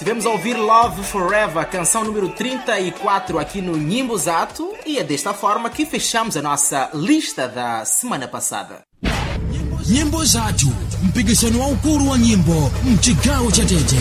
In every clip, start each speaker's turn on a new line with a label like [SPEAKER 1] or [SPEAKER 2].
[SPEAKER 1] Estivemos a ouvir Love Forever, canção número 34 aqui no Nyimbo Zathu, e é desta forma que fechamos a nossa lista da semana passada.
[SPEAKER 2] Nyimbo Zathu, mpikisano waukulu wa nyimbo mchigawo cha Tete.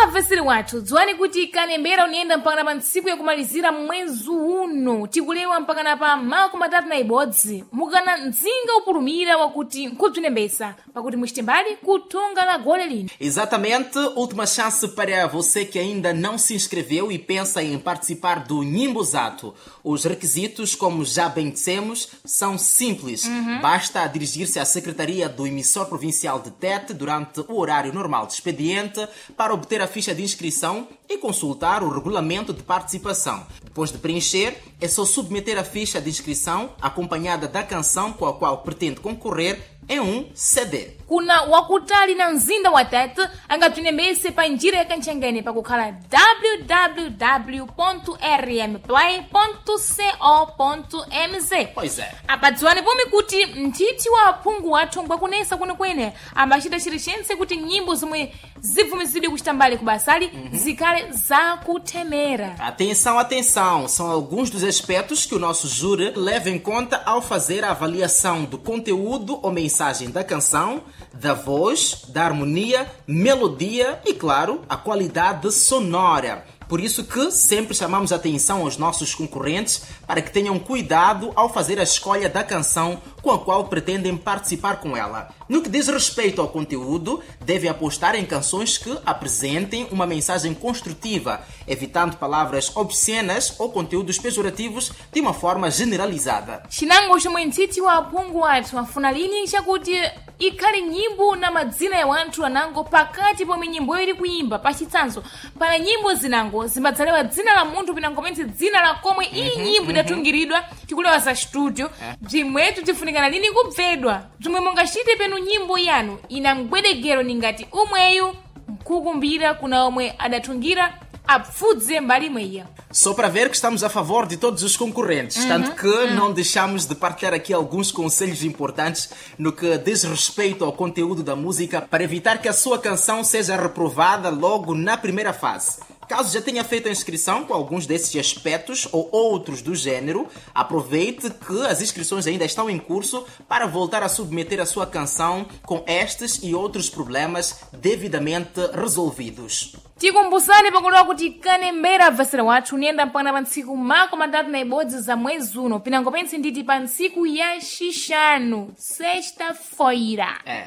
[SPEAKER 3] Abveseri wathu, dziwani kuti kalembera uniyenda mpakana pa ntsiku yakumalizira mwezi uno, tikulewa mpakana pa 31, mukana mdzinga upulumira wakuti nkubzinembesa pakuti muchite mbali kuthunga la gole lino.
[SPEAKER 1] Exatamente, última chance para você que ainda não se inscreveu e pensa em participar do Nyimbo Zathu. Os requisitos, como já bem dissemos, são simples. Basta dirigir-se à Secretaria do Emissor Provincial de Tete durante o horário normal de expediente para obter a ficha de inscrição e consultar o regulamento de participação. Depois de preencher, é só submeter a ficha de inscrição acompanhada da canção com a qual pretende concorrer em um CD.
[SPEAKER 3] Kuna wakutali na mzinda wa Tete angabzinembese pa njira ya kantchengene pakukhala www.rmplay.co.mz.
[SPEAKER 1] Pois é.
[SPEAKER 3] Apadziwani pomwe kuti mthithi wa aphungu wathu ngwakunesa kwenekwene ambachita chilichonse kuti nyimbo zomwe zibvumizidwe kuchita mbali ku basali zikhale zakuthemera.
[SPEAKER 1] Atenção, atenção! São alguns dos aspectos que o nosso júri leva em conta ao fazer a avaliação do conteúdo ou mensagem da canção, da voz, da harmonia, melodia e, claro, a qualidade sonora. Por isso que sempre chamamos a atenção aos nossos concorrentes para que tenham cuidado ao fazer a escolha da canção com a qual pretendem participar com ela. No que diz respeito ao conteúdo, devem apostar em canções que apresentem uma mensagem construtiva, evitando palavras obscenas ou conteúdos pejorativos de uma forma generalizada.
[SPEAKER 3] Chinango chomwe mthithi wa aphungu wathu afuna lini chakuti ikhale nyimbo na madzina ya wanthu anango pakati pomwe nyimboyo ili kuyimba. Pachitsanzo, pana nyimbo zinango zimbadzalewa dzina la munthu pinangomentse dzina la komwe iyi nyimbo idatungiridwa, tikulewa za studio. Bzimwetu bzifunikana lini kubvedwa bzomwe mungachite penu nyimbo yanu ina mgwedegero ningati umweyu nkukumbira kuna omwe adatungira apfudze mbali imweya.
[SPEAKER 1] Só para ver que estamos a favor de todos os concorrentes, tanto que não deixamos de partilhar aqui alguns conselhos importantes no que diz respeito ao conteúdo da música para evitar que a sua canção seja reprovada logo na primeira fase. Caso já tenha feito a inscrição com alguns desses aspectos ou outros do gênero, aproveite que as inscrições ainda estão em curso para voltar a submeter a sua canção com estes e outros problemas devidamente resolvidos.
[SPEAKER 3] Tikumbusani pakulewa kuti kanembera abvesera wathu uniyenda mpakana pa ntsiku 31 za mwezi uno, pinango pentse nditi pa ntsiku ya xixanu, sexta-feira.
[SPEAKER 1] É.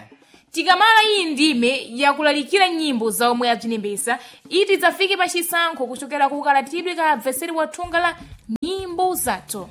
[SPEAKER 3] Tikamala iyi ndime yakulalikira nyimbo za omwe abzinembesa iti dzafike pa chisankho kuchokera ku kalatidwe ka abveseri wa thunga la Nyimbo Zathu.